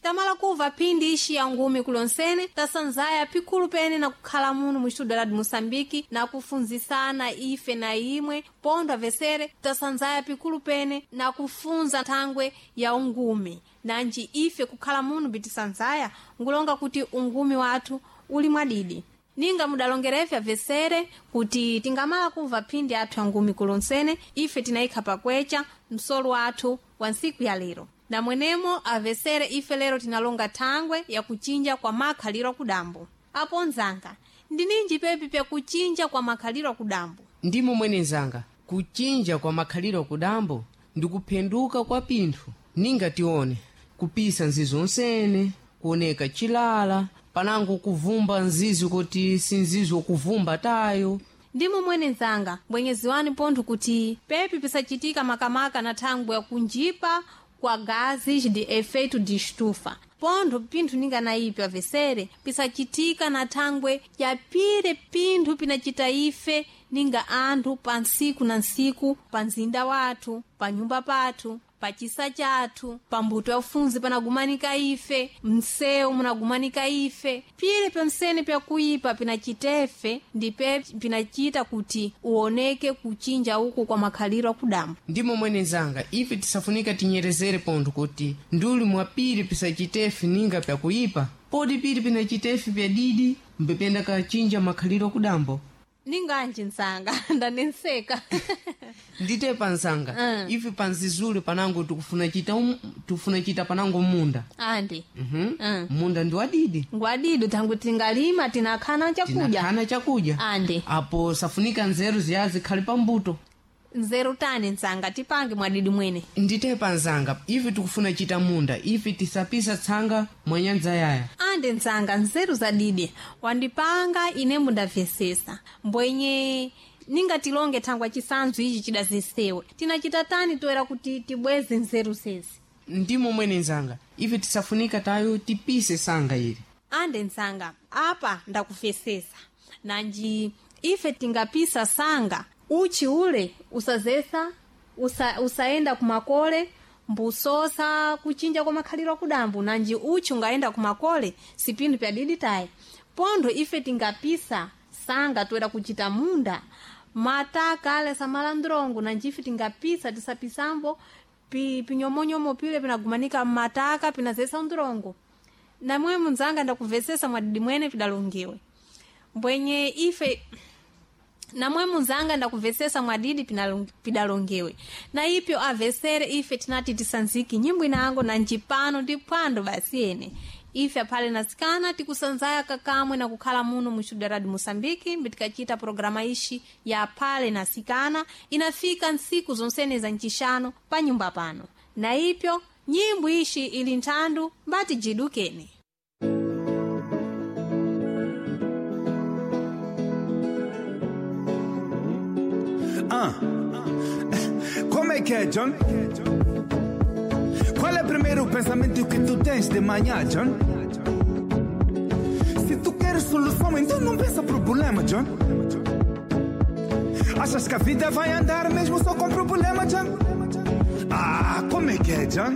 Tamala kuva phindi ixi ya ngumi kulonsene tasanzaya pikulu pene na kukhala muno mu estudo la Moçambique na kufunzisana ife na imwe pondo avesere tasanzaya pikulu pene na kufunza thangwe ya ungumi nanji ife kukhala muno bitisanzaya ngulonga kuti ungumi wathu uli mwadidi ninga mudalongerefe avesere kuti tingamala kuva phindi athu ya ngumi kulonsene ife tinayikha pakwecha msolo wathu wa ntsiku ya lero na mwenemo avesere ife lero tinalonga thangwe yakuchinja kwa makhaliro akudambo apo nzanga ndininji pepi pyakuchinja kwa makhaliro akudambo Ndimo mwene nzanga, kuchinja kwa makhaliro kudambo ndi kuphenduka kwa pinthu ninga tione kupisa nzizo onsene kuoneka chilala panango kuvumba nzizo kuti si nzizo kuvumba tayo. Ndimo mwene nzanga mbwenyeziwani pontho kuti pepi pisachitika makamaka na thangwe yakunjipa kwa gases de efeito de estufa pontho pinthu ninga na ipi avesere pisachitika na thangwe yapire pinthu pinachita ife ninga anthu pa ntsiku na ntsiku pa mzinda wathu pa nyumba pathu pa chisa chathu pa mbuto ya ufunzi panagumanika ife msewu munagumanika ife pile pyonsene pyakuipa pinachitefe ndipe pinachita kuti uoneke kuchinja uku kwa makhaliro akudambo. Ndimo mwene nzanga, ife tisafunika tinyerezere pontho kuti nduli mwapiri pisachitefe ninga pyakuipa podi piri pinachitefe pyadidi mbependa kachinja makhaliro akudambo. Ninganji nzanga ndanenseka. Ndite panzanga ife panzizule panango tikufuna chita tikufuna chita panango munda. Andi. Munda ndi wadidi. Ngwadidi tangu tingalima tinakhana chakudya. Tinahana chakudya. Andi. Apo safunika nzeru ziya zikhale pambuto. Nzeru tani nzanga tipange mwadidi mwene? Ndite panzanga ife tikufuna chita munda ife tisapisa tsanga mwanyanza yaya. Andi nzanga nzeru zadidi wandipanga ine mundamvesesa mbwenye ningatilonge thangwa chisanzu ichi chidazesewe tinachita tani toera kuti tibweze nzeru zezi? Ndimo mwene nzanga, ife tisafunika tayo tipise sanga ili. Ande nzanga apa ndakufesesa nanji ife tingapisa sanga uchi ule usazesa usaenda kumakole mbusosa kuchinja kwa makhaliro akudambo nanji uchi ungaenda kumakole sipindu pyadidi tayi pontho ife tingapisa sanga toera kuchita munda mataka ale samalandrongo nanji ife tingapisa tisapisambo pinyomonyomo pile pinagumanika mmataka pinazesa ndrongo namwe munzanga ndakuvesesa mwadidi mwene pidalongewe mbwenye ife namwe munzanga ndakuvesesa mwadidi pidalongewe na ipyo avesere ife tinati tisanziki nyimbo inango na njipano ndi phwando basi ene ife aphale nasikana tikusanzaya kakamwe na kukhala muno mu studio radio Moçambique mbitikachita programa ishi ya phale nasikana inafika ntsiku zonsene za ncixano pa nyumba pano na ipyo nyimbo ishi ili nthandu mbati jidukene. Ah. Como é que é, John? Qual é o primeiro pensamento que tu tens de manhã, John? Se tu queres solução, então não pensa problema, John. Achas que a vida vai andar mesmo só com problema, John? Ah, como é que é, John?